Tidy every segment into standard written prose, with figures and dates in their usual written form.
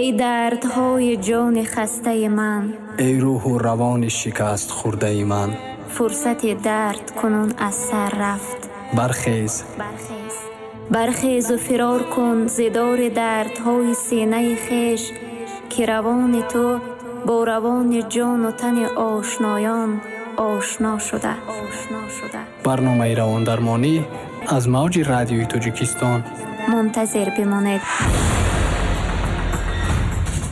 Эй дардҳои ҷони хастаи ман, эй рӯҳу равони шикаст хӯрдаи ман, фурсати дард кунун аз сар рафт. Бархез, бархез, бархезу фирор кун зи дори дардҳои синаи хеш, ки равони ту бо равони ҷону тани ошноён ошно шуда. Барномаи равондармонӣ аз мавҷи радиои Тоҷикистон. Мунтазир бимонед.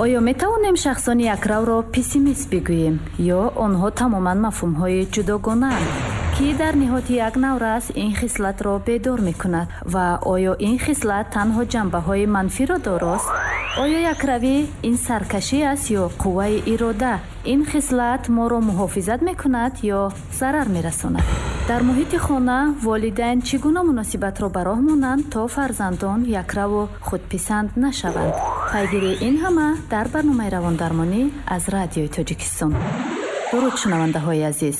Оё метавонем шахсони якравро пессимист бигӯем, ё онҳо тамоман мафҳумҳои ҷудогонаанд, ки дар ниҳоди як наврас ин хислатро бедор мекунад? Ва оё ин хислат танҳо ҷанбаҳои манфиро дорост? Оё якравӣ ин саркашӣ аст ё қувваи ирода? Ин хислат моро муҳофизат мекунад ё зарар мерасонад? Дар муҳити хона волидайн чӣ гуна муносибатро ба роҳ монанд, то фарзандон якраву худписанд нашаванд? Пайгирии ин ҳама дар барномаи равондармонӣ аз радиои Тоҷикистон. Дуруд, шунавандаҳои азиз.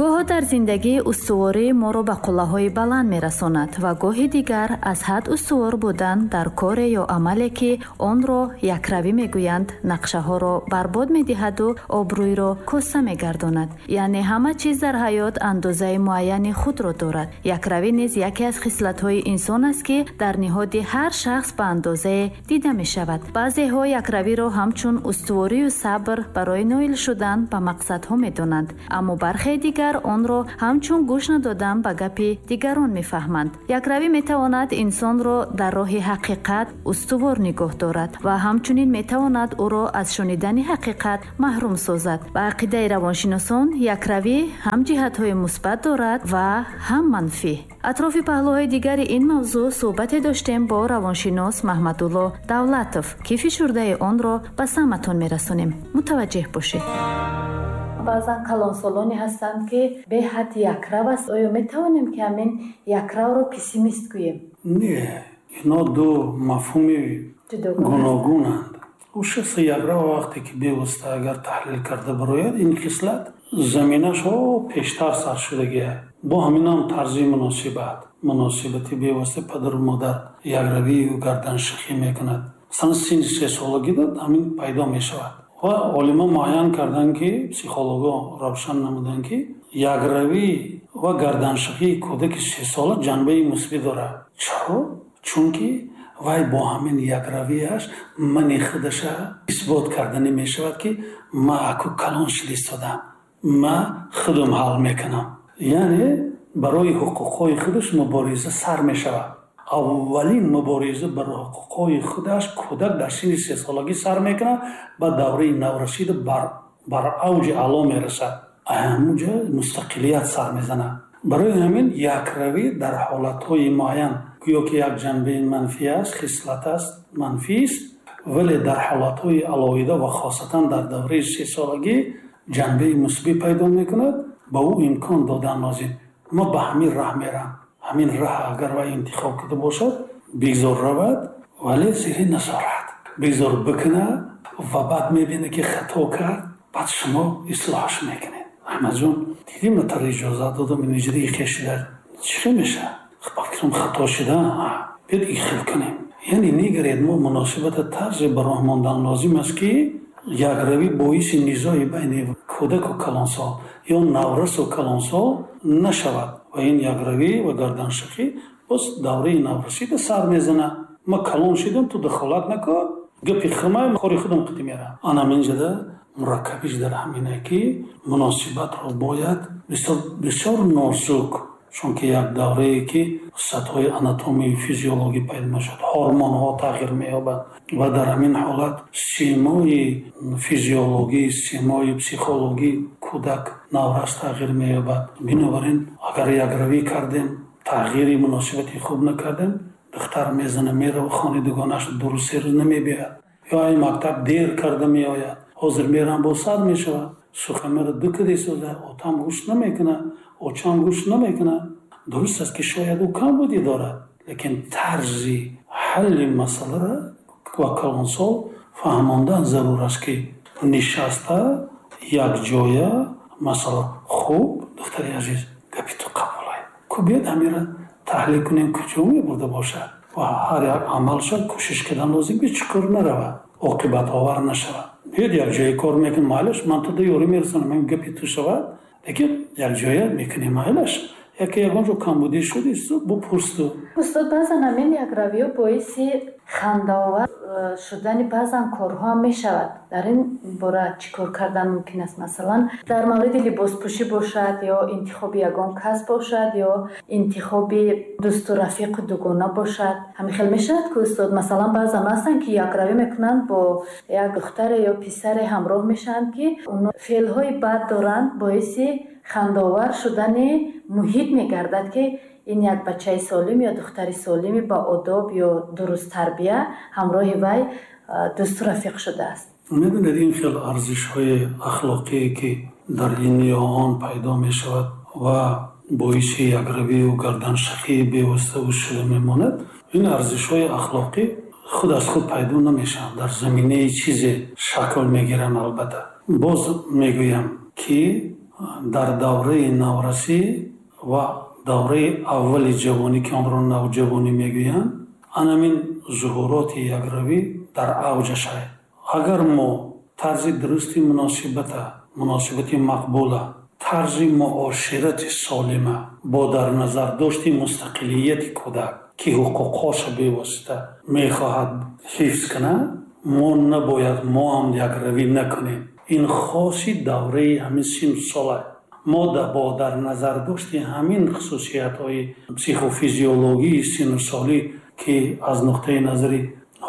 Гоҳо дар зиндагӣ устуворӣ моро ба қуллаҳои баланд мерасонад ва гоҳи дигар аз ҳад устувор будан дар коре ё амале, ки онро якравӣ мегӯянд, нақшаҳоро барбод медиҳаду обрӯйро коста мегардонад. Яъне ҳама чиз дар ҳаёт андозаи муайяни худро дорад. Якравӣ низ яке аз хислатҳои инсон аст, ки дар ниҳоди ҳар шахс ба андозае дида мешавад. Баъзеҳо якравиро ҳамчун устуворию сабр барои ноил шудан ба мақсадҳо медонанд, аммо бархе дигар онро ҳамчун гӯш надодан ба гапи дигарон мефаҳманд. Якравӣ метавонад инсонро дар роҳи ҳақиқат устувор нигоҳ дорад ва ҳамчунин метавонад ӯро аз шунидани ҳақиқат маҳрум созад. Ба ақидаи равоншиносон, якравӣ ҳам ҷиҳатҳои мусбат дорад ва ҳам манфӣ. Атрофи паҳлӯҳои дигари ин мавзӯъ суҳбате доштем бо равоншинос Маҳмадулло Давлатов, ки фишурдаи онро ба самъатон мерасонем. Мутаваҷҷеҳ бошед. Баъзан калонсолоне ҳастанд, ки беҳад якрав аст. Оё метавонем, ки ҳамин якравро пессимист гӯем? Не, ино ду мафҳуми гуногунанд. Ӯ шахси якрав вақте ки бевосита агар таҳлил карда барояд, ин хислат заминашо пештар сар шудагия. Бо ҳаминам тарзи муносибат, муносибати бевосита падару модар якравию гарданшихӣ мекунад. Масалан, синни сесолагида ҳамин пайдо мешавад. Ва олимон муайян карданд, ки психологҳо равшан намуданд, ки якравӣ ва гарданшихии кӯдаки сесола ҷанбаи мусбӣ дорад. Чаро? Чунки вай бо ҳамин якравиаш мани худаша исбот карда намешавад, ки ма аку калон шуда истодам, ма худам ҳал мекунам. Яъне барои ҳуқуқҳои худаш мубориза сар мешавад. Аввалин мубориза барои ҳуқуқҳои худаш кӯдак дар синни сесолагӣ сар мекунад, ба давраи наврасида бар авҷи аъло мерасад. Ҳамунҷо мустақилият сар мезанад. Барои ҳамин якравӣ дар ҳолатҳои муайян гӯё ки як ҷанбаи манфӣ аст, хислат аст, манфист, вале дар ҳолатҳои алоҳида ва хосатан дар давраи сесолагӣ ҷанбаи мусбӣ пайдо мекунад. Ба ӯ имкон додан лозим. Ма ба ҳамин раҳ мерам. Ҳамин раҳ агар вай интихоб карда бошад, бигзор равад, вале зери назорат. Бигзор бикунад ва баъд мебинад, ки хато кард, баъд шумо ислоҳаш мекунед. Аҳмадҷон, дидӣ ман таро иҷозат додам, ин иҷра ихел шуда. Чӣ хел мешавад? Ба фикрам хато шуда, биёд ихел кунем. Яъне нигаред, мо муносибата тарзе ба роҳ мондан лозим аст, ки якравӣ боиси низои байни кӯдаку калонсол ё наврасу калонсол нашавад. Ва ин якравӣ ва гарданшихӣ боз давраи наврасида сар мезанад. Ма калон шидам, ту дахолат накун, гапи хумай, кори худам қити мерам. Ана ҳаминҷода мураккабиш дар ҳамине, ки муносибатро бояд бисёр, бисёр нозук, чунки як даврае ки сатҳҳои анатомию физиологӣ пайдо мешавад, ҳормонҳо тағйир меёбанд ва дар ҳамин ҳолат симои физиологӣ, симои психологӣ кӯдак наврас тағйир меёбад. Бинобар ин агар якравӣ кардем, тағйири муносибати хуб накардем, духтар мезана, мерава хони дугонаш, ду рӯз, се рӯз намебиёяд, ё ай мактаб дер карда меояд, ҳозир мерам бо сар мешавад, суханмаро ду каде соза, отам гӯш намекунад, очам гӯш намекунад. Дуруст аст, ки шояд ӯ камбудӣ дорад, лекин тарзи ҳалли масъаларо ва калонсол фаҳмондан зарур аст, ки нишаста якҷоя масъала. Хуб, духтари азиз, гапи ту қабулай, Ку биёд ҳамира таҳлил кунем, куҷо мебурда бошад ва ҳар як амалша кӯшиш кардан лозим, ки чуқур наравад, оқибатовар нашавад. Биёд як ҷое кор мекунем, майлаш, ман туда ёрӣ мерасонам, ин гапи ту шавад, лекин як ҷоя мекунем, майлаш. Яке ягон ҷо камбудӣ шуд, бупурсту. Устод, баъзан ҳамин якравиҳо боиси хандаовар шудани баъзан корҳо ҳам мешавад. Дар ин бора чӣ кор кардан мумкин аст? Масалан, дар мавриди либоспӯшӣ бошад, ё интихоби ягон кас бошад, ё интихоби дӯсту рафиқу дугона бошад. Ҳамин хел мешавад ки, устод, масалан, баъзан ҳастанд, ки якравӣ мекунанд, бо як духтаре ё писаре ҳамроҳ мешаванд, ки оно феълҳои бад доранд, боиси хандаовар шудани муҳит мегардад, ки ин як бачаи солим ё духтари солими ба одоб ё дурусттарбия ҳамроҳи вай дӯсту рафиқ шудааст. Медонед, ин хел арзишҳои ахлоқие, ки дар ин ё он пайдо мешавад ва боиси якравию гарданшахии бевоситаву шуда мемонад, ин арзишҳои ахлоқӣ худ аз худ пайдо намешаванд, дар заминаи чизе шакл мегиранд. Албатта, боз мегӯям, ки дар давраи наврасӣ ва давраи аввали ҷавонӣ, ки онро навҷавонӣ мегӯянд, анамин зуҳуроти якравӣ дар авҷаш аст. Агар мо тарзи дурусти муносибата, муносибати мақбула, тарзи муоширати солима бо дар назар дошти мустақилияти кӯдак, ки ҳуқуқҳоша бевосита мехоҳад ҳифз кунад, мо набояд мо ҳам якравӣ накунем. Ин хоси давраи ҳамин синну сола. Мо бо дар назар дошти ҳамин хусусиятҳои психофизиологии синну солӣ, ки аз нуқтаи назари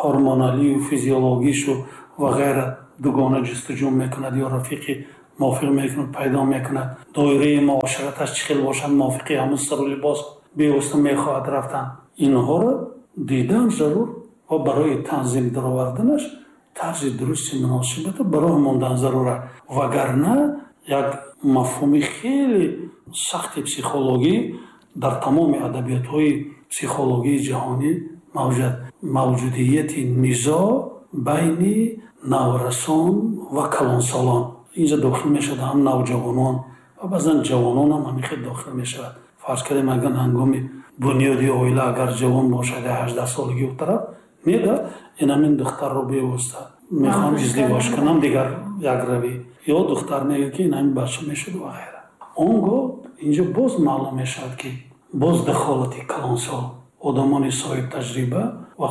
ҳормоналию физиологишу ва ғайра дугона ҷустуҷӯ мекунад ё рафиқи мувофиқ мекунад, пайдо мекунад, доираи муошираташ чӣ хел бошад, мувофиқи ҳамун сару либос бевосита мехоҳад рафтан, инҳоро дидан зарур ва барои танзим дароварданаш тарзи дурусти муносибата ба роҳ мондан зарур аст. Вагарна як мафҳуми хеле сахти психологӣ дар тамоми адабиётҳои психологии ҷаҳонӣ мавҷуд, мавҷудияти низоъ байни наврасон ва калонсолон. Инҷа дохил мешавад ҳам навҷавонон ва баъзан ҷавонон ҳам ҳамин хел дохил мешавад. Фарз кардем, агар ҳангоми бунёди оила агар ҷавон бошад, 18 солагӣ у тараф неда, ин ҳамин духтарро бевосита мехоҳам издивоҷ кунам, дигар якравӣ, ё духтар мегӯяд, ки ин ҳамин бача мешуд ва ғайра. Он гоҳ инҷо боз маълум мешавад, ки боз дахолати калонсол, одамони соҳибтаҷриба ва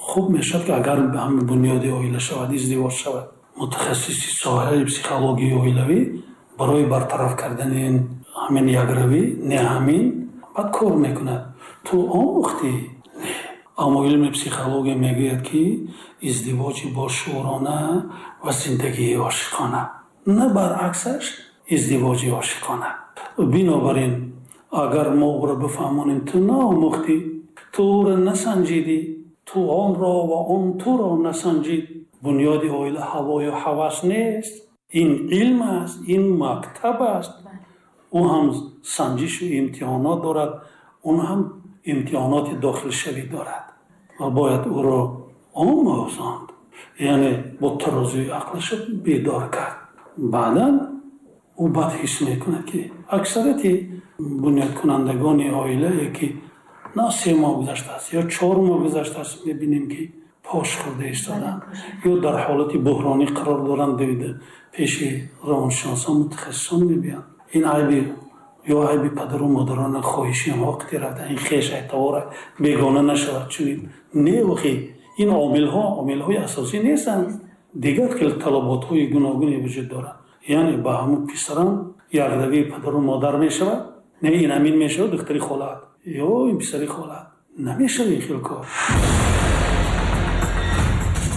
хуб мешавад, ки агар ҳамин бунёди оила шавад, издивоҷ шавад, мутахассиси соҳаи психологияи оилавӣ барои бартараф кардани ҳамин якравӣ, не ҳамин баъд кор мекунад. Ту омӯхтӣ? Не. Аммо илми психология мегӯяд, ки издивоҷи бошуурона ва зиндагии ошиқона, на баръаксаш издивоҷи ошиқона. Бинобар ин, агар мо ӯро бифаҳмонем, ту наомӯхтӣ, ту ӯро насанҷидӣ, ту онро ва он туро насанҷид, бунёди оила ҳавою ҳавас нест, ин илм аст, ин мактаб аст. Ӯ ҳам санҷишу имтиҳонот дорад, он ҳам имтиҳоноти дохилшавӣ дорад ва бояд ӯро омӯзонд, яъне бо тарозуи ақлаша бедор кард. Баъдан ӯ бад ҳис мекунад, ки аксарияти бунёдкунандагони оилае, ки на 3 моҳ гузаштааст ё 4 моҳ гузаштааст, мебинем, ки пош хӯрда истоданд ё дар ҳолати буҳронӣ қарор доранд, давида пеши равоншиносон, мутахассисон мебиёнд. Ин айби ё айби падару модарона, хоҳиши онҳо вақте рафта, ин хеш айтавора бегона нашавад. Чунин не, охи ин омилҳо омилҳои асосӣ нестанд, дигар хел талаботҳои гуногуне вуҷуд доранд. Яъне ба ҳамун писарам якравии падару модар мешавад, не ин ҳамин мешавад духтари холаат ё ин писари холаат, намешавад ин хел кор.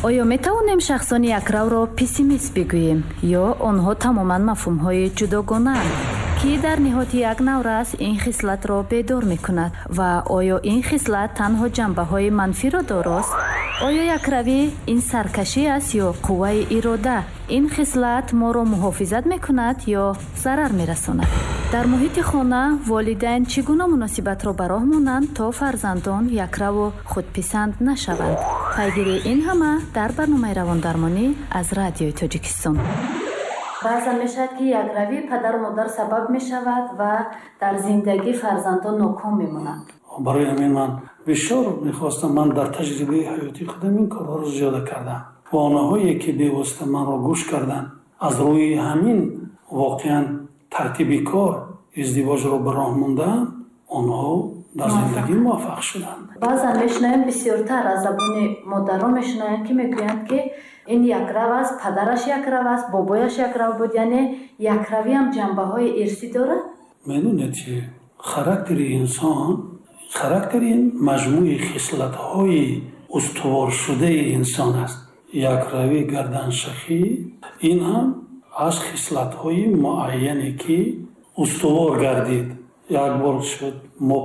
Оё метавонем шахсони якравро пессимист бигӯем ё онҳо тамоман мафҳумҳои ҷудогонаанд, ки дар ниҳоди як наврас ин хислатро бедор мекунад ва оё ин хислат танҳо ҷанбаҳои манфиро дорост? Оё якравӣ ин саркашӣ аст ё қувваи ирода? Ин хислат моро муҳофизат мекунад ё зарар мерасонад? Дар муҳити хона волидайн чӣ гуна муносибатро ба роҳ монанд, то фарзандон якраву худписанд нашаванд? Пайгирии ин ҳама дар барномаи равондармонӣ аз Радиои Тоҷикистон. Баъзан мешавад, ки якравии падару модар сабаб мешавад ва дар зиндагӣ фарзандон ноком мемонанд. Барои ҳамин ман бисёр мехостам, ман дар таҷрибаи ҳаётии худам ин корҳоро зиёда кардам ва онҳое ки бевосита манро гӯш карданд, аз рӯи ҳамин воқеан тартиби кор издивоҷро ба роҳ мондаанд, онҳо дар зиндагӣ муваффақ шуданд. Баъзан мешунавем, бисёртар аз забони модарон мешунавем, ки мегӯянд, ки ин якрав аст, падараш якрав аст, бобояш якрав буд, яъне якравиам ҷанбаҳои ирсӣ дорад? Медонед чи, характери инсон, характер ин маҷмӯи хислатҳои устуворшудаи инсон аст. Якравӣ, гарданшахӣ ин ҳам аз хислатҳои муайяне ки устувор гардид. Як бор шуд, мо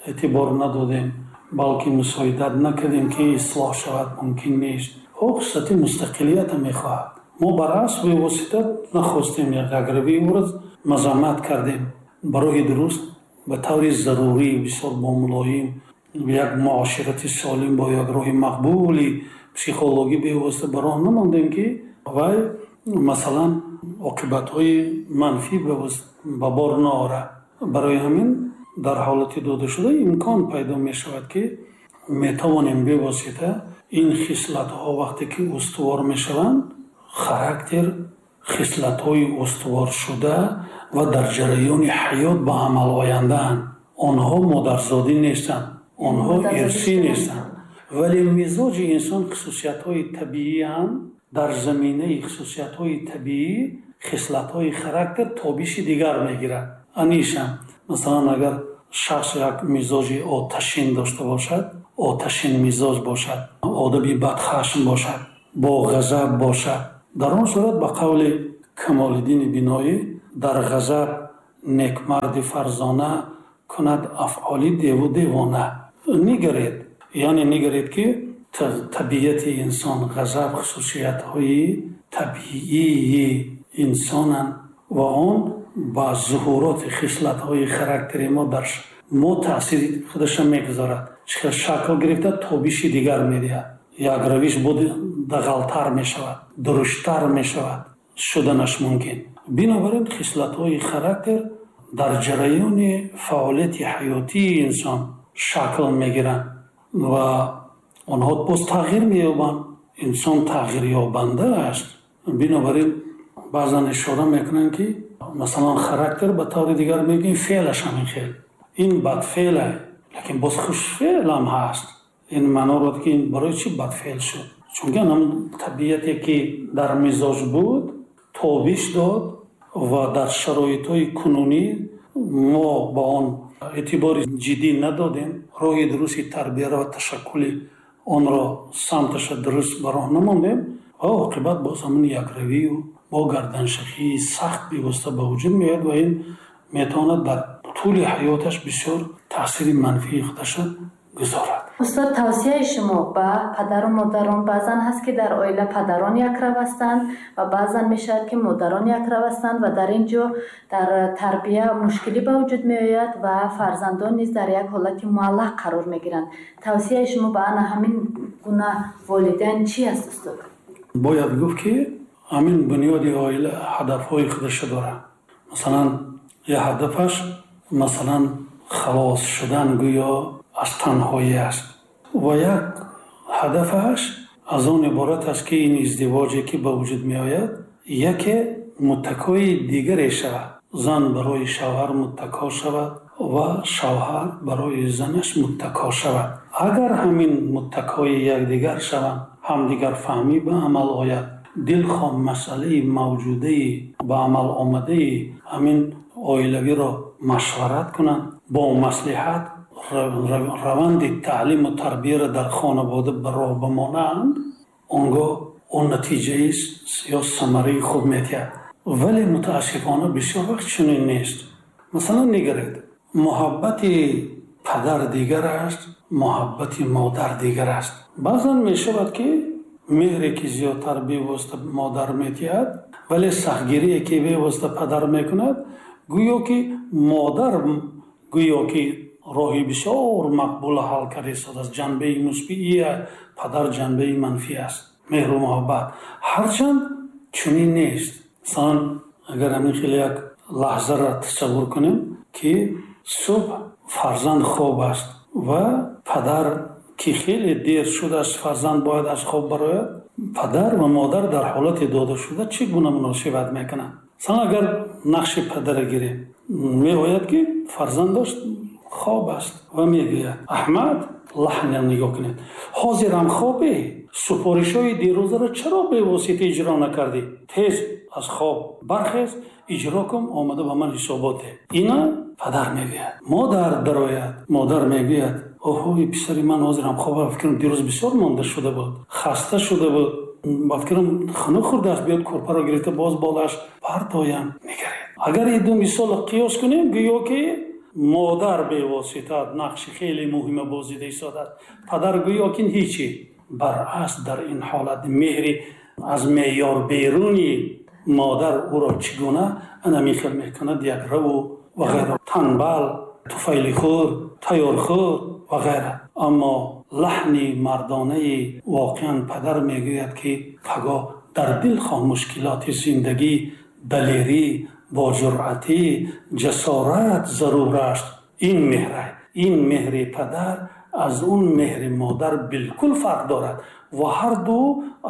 эътибор надодем, балки мусоидат накардем, ки ислоҳ шавад, мумкин нест. Ӯ хислати мустақилиятро мехоҳад. Мо баръакс бевосита нахостем, якравии ӯро мазаммат кардем. Ба роҳи дуруст, ба таври зарурӣ, бисёр бомулоим, як муоширати солим, бо як роҳи мақбули психологӣ бевосита ба роҳ намондем, ки вай масалан оқибатҳои манфӣ ба бор наорад. Барои ҳамин дар ҳолати додашуда имкон пайдо мешавад, ки метавонем бевосита ин хислатҳо вақте ки устувор мешаванд, характер хислатҳои устуворшуда ва дар ҷараёни ҳаёт ба амал ояндаанд. Онҳо модарзодӣ нестанд, онҳо ирсӣ нестанд, вале мизоҷи инсон хусусиятҳои табиианд. Дар заминаи хусусиятҳои табиӣ хислатҳои характер тобиши дигар мегирад. Анишам, масалан, агар шахс як мизоҷи оташин дошта бошад, оташин мизоҷ бошад, одами бадхашм бошад, бо ғазаб бошад, дар он сурат, ба қавли Камолиддини Биноӣ, дар ғазаб некмарди фарзона кунад афъоли деву девона. Нигаред, яъне нигаред, ки табиати инсон, ғазаб хусусиятҳои табиии инсонанд ва он ба зуҳуроти хислатҳои характери мо дар мо таъсири худаша мегузорад. Чӣ хел шакл гирифта, тобиши дигар медиҳад. Як равиш буд, дағалтар мешавад, дурушттар мешавад, шуданаш мумкин. Бинобар ин хислатҳои характер дар ҷараёни фаъолияти ҳаётии инсон шакл мегиранд ва онҳо боз тағйир меёбанд. Инсон тағйирёбанда аст. Бинобар ин баъзан ишора мекунанд, ки масалан характер ба таври дигар мегӯем, феълаш ҳамин хел, ин бадфеъле, лекин боз хушфеълам ҳаст. Ин маъноро, ки ин барои чӣ бадфеъл шуд? Чунки ҳамон табиате ки дар мизоҷ буд, тобиш дод ва дар шароитҳои кунунӣ мо ба он эътибори ҷиддӣ надодем, роҳи дурусти тарбияро ва ташаккули онро, самташа дуруст ба роҳ намондем ва оқибат боз ҳамон якравию бо гарданшахии сахт бевосита ба вуҷуд меояд ва ин метавонад дар тӯли ҳаёташ бисёр таъсири манфии худаша гузорад. Устод, тавсияи шумо ба падару модарон? Баъзан ҳаст, ки дар оила падарон якрав ҳастанд ва баъзан мешавад, ки модарон якрав ҳастанд ва дар ин ҷо дар тарбия мушкилӣ ба вуҷуд меояд ва фарзандон низ дар як ҳолати муаллақ қарор мегиранд. Тавсияи шумо ба ана ҳамин гуна волидайн чӣ аст, устод? Бояд гуфт, ки ҳамин бунёди оила ҳадафҳои худаша дорад. Масалан, як ҳадафаш, масалан, халос шудан гӯё аз танҳоӣ аст ва як ҳадафаш аз он иборат аст, ки ин издивоҷе ки ба вуҷуд меояд, яке муттакои дигаре шавад, зан барои шавҳар муттако шавад ва шавҳар барои занаш муттако шавад. Агар ҳамин муттакои якдигар шаванд, ҳамдигарфаҳмӣ ба амал ояд, дилхоҳ масъалаи мавҷудаи ба амал омадаи ҳамин оилавиро машварат кунанд, бо маслиҳат раванди таълиму тарбияро дар хонавода ба роҳ бимонанд, он гоҳ он натиҷаи ё самараи хуб медиҳад. Вале мутаассифона бисёр вақт чунин нест. Масалан, нигаред, муҳаббати падар дигар аст, муҳаббати модар дигар аст. Баъзан мешавад, ки меҳре ки зиёдтар бевосита модар медиҳад, вале сахтгирие ки бевосита падар мекунад, гӯё ки модар гӯё ки роҳи бисёр мақбула ҳал карда истодааст. Ҷанбаи мусбии падар ҷанбаи манфӣ аст, меҳру муҳаббат. Ҳарчанд чунин нест. Масалан, агар ҳамин хеле як лаҳзаро тасаввур кунем, ки субҳ фарзанд хоб аст ва падар ки хеле дер шудааст, фарзанд бояд аз хоб барояд, падар ва модар дар ҳолати додашуда чӣ гуна муносибат мекунанд? Масалан, агар нақши падара гирем, меояд ки фарзандаш хоб аст ва мегӯяд: «Аҳмад», лаҳнам нигоҳ кунед, «ҳозирам хобе, супоришҳои дирӯзаро чаро бевосита иҷро накардӣ? Тез аз хоб бархез, иҷро кун, омада ба ман ҳисобот деҳ». Ина падар мегӯяд. Модар дарояд, модар мегӯяд: «Оҳои, писари ман ҳозирам хоб, ба фикрам дирӯз бисёр монда шуда буд, хаста шуда буд, ба фикрам хунук хӯрдааст, биёд кӯрпаро гирифта боз болааш партоям». Нигаред, агар ин ду мисолро қиёс кунем, гӯё ки модар бевосита нақши хеле муҳима бозида истодааст, падар гӯё ки ҳичи. Баръакс, дар ин ҳолат меҳри аз меъёр беруни модар ӯро чӣ гуна ана хел мекунад, якраву ва ғайра, танбал, туфайлихӯр, тайёрхӯр ва ғайра. Аммо лаҳни мардонаи воқеан падар мегӯяд, ки пагоҳ дар дилхоҳ мушкилоти зиндагӣ далерӣ, боҷуръатӣ, ҷасорат зарур аст. Ин меҳра, ин меҳри падар аз он меҳри модар билкул фарқ дорад ва ҳар ду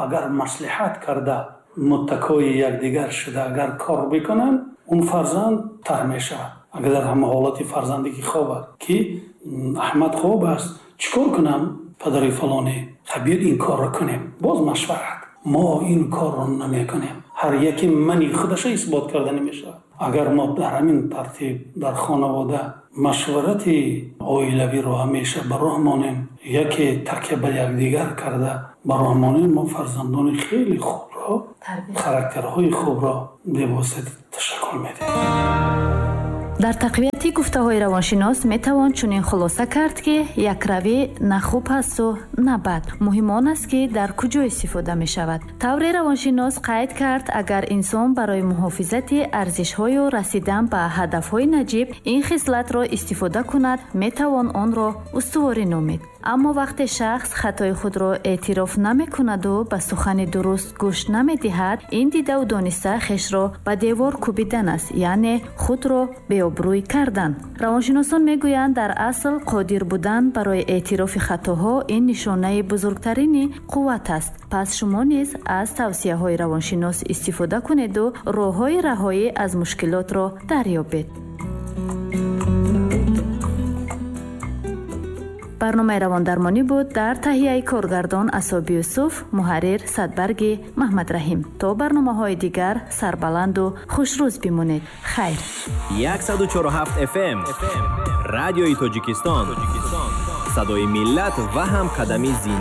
агар маслиҳат карда, муттакои якдигар шуда, агар кор бикунанд, он фарзанд тар мешавад. Агар дар ҳама ҳолати фарзанде ки хоб аст, ки Аҳмад хоб аст, чӣ кор кунам, падари фалонӣ? Биёд ин корро кунем. Боз машварат. Мо ин корро намекунем, ҳар яке мани худаша исбот карда намешавад. Агар мо дар ҳамин тартиб дар хонавода машварати оилавиро ҳамеша ба роҳ монем, яке такя ба якдигар карда ба роҳ монем, мо фарзандони хеле хубро, характерҳои хубро бевосита ташаккул медиҳем. Дар тақвияти гуфтаҳои равоншинос метавон чунин хулоса кард, ки якравӣ на хуб ҳасту на бад, муҳим он аст, ки дар куҷо истифода мешавад. Тавре равоншинос қайд кард, агар инсон барои муҳофизати арзишҳою расидан ба ҳадафҳои наҷиб ин хислатро истифода кунад, метавон онро устуворӣ номид. Аммо вақте шахс хатои худро эътироф намекунаду ба сухани дуруст гӯш намедиҳад, ин дидаву дониста хешро ба девор кӯбидан аст, яъне худро беобрӯй кардан. Равоншиносон мегӯянд, дар асл қодир будан барои эътирофи хатоҳо ин нишонаи бузургтарини қувват аст. Пас шумо низ аз тавсияҳои равоншинос истифода кунеду роҳҳои раҳоӣ аз мушкилотро дарёбед. Барномаи равондармонӣ буд дар таҳияи коргардон Асоби Юсуф, муҳаррир Садбарги Маҳмадраҳим. То барномаҳои дигар сарбаланду хушрӯз бимонед. Хайр. 104.7 FM, Радиои Тоҷикистон, садои миллат ва ҳамқадами зинда.